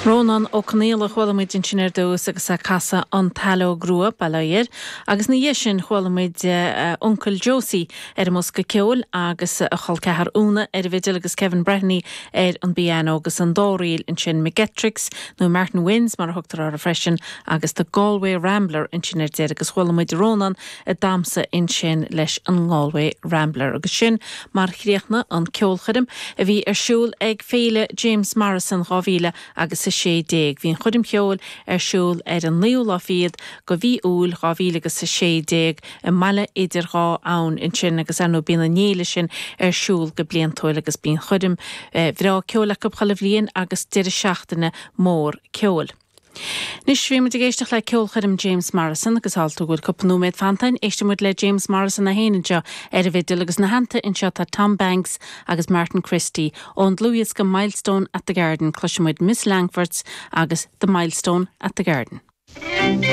Rónán Ó Conaola a chuala muid ansin ar dtús agus é ag casadh An tSaileog Rua, bail ó Dhia air, agus ina dhiaidh sin chuala muid Uncail Josie ar an mbosca ceoil agus a chol ceathar Úna ar an bhfidil agus Kevin Breheny ar an bpianó agus an dá ríl ansin McGettricks nó Martin Wynne's mar a thugtar orthu freisin agus The Galway Rambler ansin ar deireadh agus chuala muid Rónán ag damhsa ansin leis an nGalway Rambler agus sin mar chríochnaigh an ceolchoirm a bhí ar siúl ag Féile James Morrison 2000 agus 16. Bhí an choirm cheoil ar siúl ar an naoú lá fichead de mhí Iúil 2000 agus 16 i mBaile Idir Dhá Abhainn ansin agus ar ndóigh bíonn an fhéile sin ar siúl go bliantúil agus bíonn choirm bhreá ceoil acu chuile bhliain agus deireadh seachtaine mór ceoil. Anois, bhí muid ag éisteacht le ceolchoirm James Morrison agus tharla go bhfuil cúpla nóiméad fanta againn, éistfidh muid le James Morrison é féin anseo ar an bhfidil agus ina theannta anseo tá Tom Banks agus Martin Christy. Ón dlúthdhiosca Milestone at the Garden cloisfidh muid Miss Langfords agus The Milestone at the Garden.